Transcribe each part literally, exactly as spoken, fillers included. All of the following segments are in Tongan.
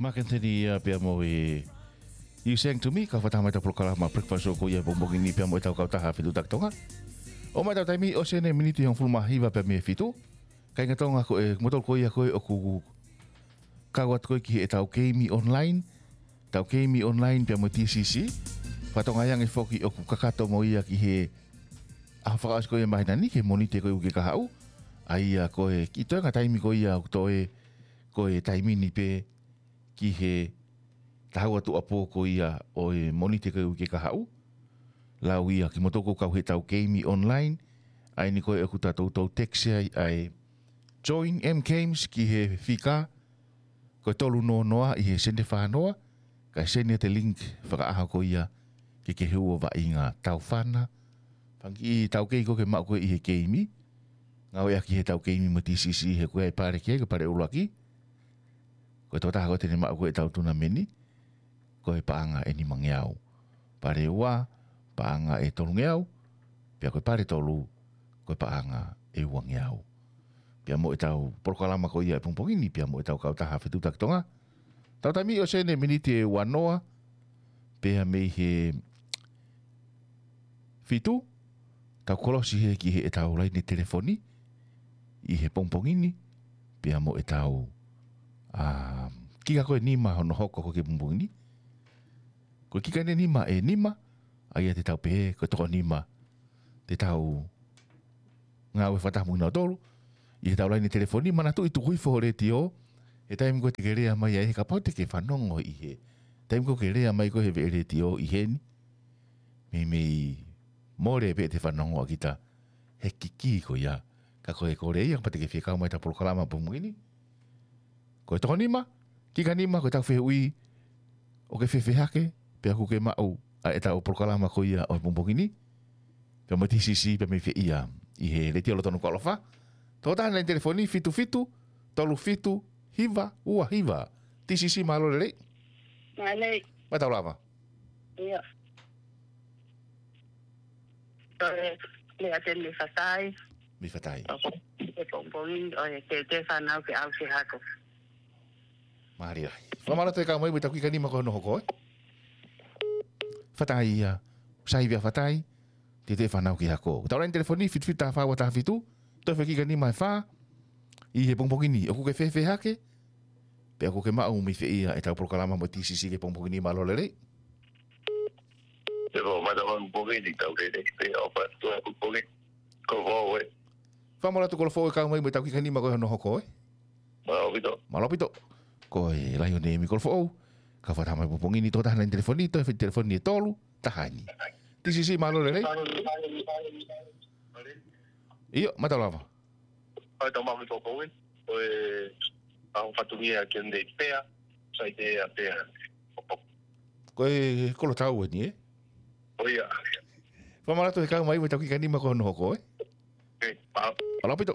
Maketeni ia pea mo e You Sang to Me, kau fakataha mai ʻetau polokalama Breakfast Show ko ia he pongipongi ni pea mo ʻetau kautaha Fetuʻutaki Tonga. ʻOmai ʻetau taimi ʻosi eni miniti hongofulu mā hiva pea mei he fitu. Kāinga Tonga ko e, kimoutolu ko ia ko ē ʻoku kau atu ko ē ki heʻetau keimi online, ʻetau keimi online pea mo e T C C. Fakatokangaʻi ange foki ʻoku kakato mo ia ki he ʻaho fakaʻosi ko ia māhina ni, ki he Mōnite ko ia ʻoku ke kahaʻu. ʻA ia ko e kiʻi toenga taimi ko ia ʻoku toe, ko e taimi ni pē ki he taha ua tuʻuapō ko ia ʻo e Mōnite ko ia ʻoku ke kahaʻu. Lau ia kimoutolu ʻoku kau heʻetau keimi online. ʻA eni ko ē ʻoku toutou text ai ʻa e Join M Games ki he fika ko e tolu noa noa ʻi he sene fā noa, kae send ʻete link fakaʻaho ko ia ke ke hū ʻo vaʻinga taufana. Fanga kiʻi taukei ko ē ke maʻu ko ē ʻi he keimi. Ngāueʻaki heʻetau keimi mo e T C C he ko e pale ki ai, ko e pale ʻuluaki. Ko e tokotaha ko ē te ne maʻu ko ē ʻetau tunameni, ko e paʻanga ʻe nimangeau. Pale ua, paʻanga ʻe tolungeau, pea ko e pale tolu, ko e paʻanga ʻe uangeau. Pea mo ʻetau polokalama ko ia he pongipongi ni, pea mo ʻetau kautaha Fetuʻutaki Tonga. Tau taimi ʻosi eni miniti ʻe ua noa, pea mei he fitu, tau kolosi hē ki heʻetau laine telefoni, ʻi he pongipongi ni, pea mo ʻetau, ā, kika ko ē nima hono hoko ko ē ki he pongipongi ni. Ko e kika eni nima ʻe nima, ʻa ia te tau pehē, ko e toko nima, te tau ngāue fakataha mo kinautolu, ʻi heʻetau laine telefoni, manatuʻi tuku hifo ho letiō, he taimi ko ē te ke lea mai ai, he kapau te ke fanongo ʻi he, taimi ko ē ke lea mai ko ē he veʻe letiō ʻi heni, meimei mole pē ʻete fanongo ʻa kita he kiki ko ia. Ka ko e kole ia, kapau te ke fie kau mai ʻetau polokalama pongipongi ni. Ko e toko nima, kika nima, ko ʻetau fehuʻi, ʻoku ke fēfē hake, pea ʻoku ke maʻu ʻa ʻetau polokalama ko ia ʻo e pongipongi ni. Pea mo e T C C, pea mei fē ia, ʻi he letiō lōtonu ko ʻAlofa. Tokotaha laine telefoni, fitu fitu, tolu fitu, hiva, ua hiva. T C C mālō e lelei. Mālō. Mālō lava. ʻIo. Ko e, lea atu mei Fatai. Mei Fatai. ʻOku, he pongipongi, ʻoku ke, ke fanau ke ʻalu ki he hako. Mālō ai. Fakamālō atu e kau mai mo ʻetau kika nima ko hono hoko, ē? Fatai ia, sai via Fatai, te te fanau ki he hako. Tau laine telefoni, fitu fitu taha fā ua taha fitu, toe fē kika nima ʻe fā, ʻi he pongipongi ni, ʻoku ke fēfē hake, pea ʻoku ke maʻu mei fē ia ʻetau polokalama mo e T C C ki he pongipongi ni, mālō e lelei. Te ko mata wan pongi ni tau lele pe o pa tu pongi. Ko fo e. Fakamālō atu Kolofoʻou e kau mai mo ʻetau kika nima ko hono hoko, ē? Mālō ʻaupito. Mālō ʻaupito. Ko e Laione ʻEmi Kolofoʻou, kau fakataha mai he pongipongi ni, tokotaha laine telefoni, toe fē telefoni ʻe tolu, taha eni. T C C mālō e lelei. ʻIo, mālō lava. ʻAi tau maʻu mei Fokouin, ko e au fatungia ke ne pea, sai te a pea. Ko e Kolotau eni, ē? ʻO ia. Fakamālō atu he kau mai mo ʻetau kika nima ko hono hoko, ē? ʻE, mālō. Mālō ʻaupito.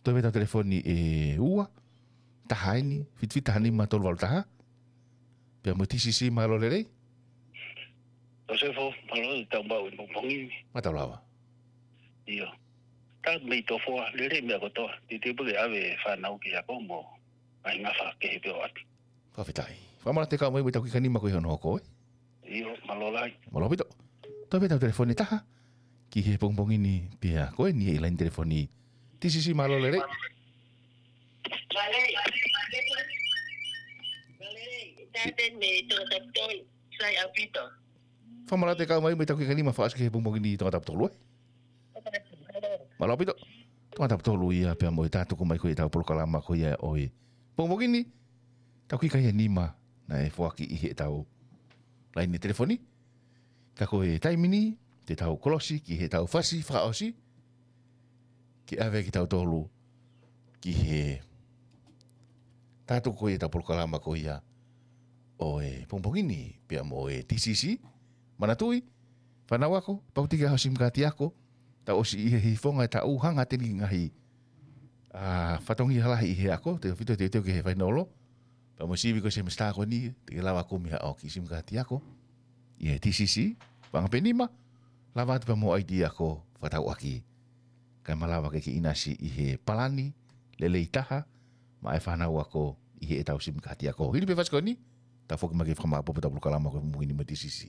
Toe fē ʻetau telefoni ʻe ua, taha eni, fitu fitu taha nima tolu valu taha. Pea mo e T C C mālō e lelei. Joseph, mālō e tau maʻu e pongipongi ni. Mālō lava. ʻIo. Tau mei Tofoa, lelei meʻa kotoa. Te te pule ʻave fanau ki he hako mo ʻai ngafa kehe pē ʻo ʻatu. Fakafetaʻi. Fakamālō atu e kau mai mo ʻetau kika nima ko hono hoko, ē? ʻIo, mālō lahi. Mālō ʻaupito. Toe fē ʻetau telefoni ʻe taha ki he pongipongi ni pea ko eni e laine telefoni. T C C mālō e lelei. Fakamālō atu e kau mai mo ʻetau kika nima fakaʻosi ki he pongipongi ni Tongatapu tolu, ē? Mālō ʻaupito. Tongatapu tolu ia pea mo e tā tuku mai ko ē ʻetau polokalama ko ia ʻo e pongipongi ni. Tau kika ia nima naʻe foaki ʻi heʻetau laine telefoni. Ka ko e taimi ni, te tau kolosi ki heʻetau fasi fakaʻosi. Ke ʻave kitautolu ki he tā tuku ko ia ʻetau polokalama ko ia ʻo e pongipongi ni pea mo e T C C. Manatuʻi, fānau ako, pau te ke ʻai ho SIM kaati ako, tau ʻosi ʻi he hifo ngaahi taʻu hanga atu eni ki he ngaahi, ā, fatongia lahi ʻi he ako, tautefito e teuteu ki he fainolo, pea mo e sivi ko ē semesitā ko eni, te ke lava kumi haʻo kiʻi SIM kaati ako ʻi he T C C, paʻanga pē ʻe nima, lava atu pea mo e I D ako fakatauʻaki. Kae malava ke ke ʻinasi ʻi he palani lelei taha maʻa e fānau ako ʻi heʻetau simikaha tiako. Hili pē fasi ko eni, tau foki mai ke fakamaʻopoʻopo ʻetau polokalama ko e Mumuʻi ni mo e T C C.